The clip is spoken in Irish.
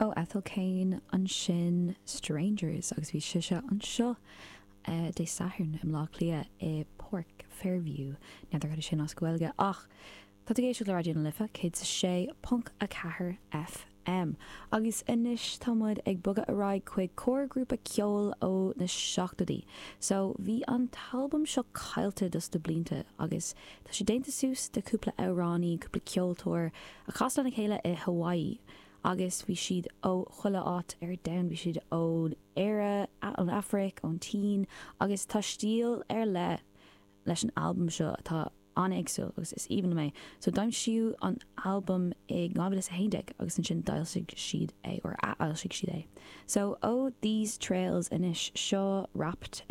Ó Ethel Cain ansin Strangers agus bhí sise anseo Dé Sathairn i mBleá Cliath i Páirc Fairview. N'fheadar cad é sin as Gaeilge ach tá tú ag éisteacht le Raidió na Life 106.4 FM. Agus anois tá muid ag bogadh ar aghaidh chuig corrghrúpa ceoil ó na seachtóidí. So bhí an t-albam seo caillte dos na blianta agus tá sé déanta suas de cúpla amhránaí, cúpla ceoltóir a chas lena chéile i Hawaii agus bhí siad ó chuile áit ar domhan, bhí siad ón Éire, ón Afraic, ón tSín agus tá stíl ar leith leis an albam seo atá an-éagsúil agus is aoibhinn liom é. So d'aimsíodh an albam i 2011 agus ansin d'fhoilsigh siad é, or athfhoilsigh siad é. So ó These Trails anois, seo Rapt.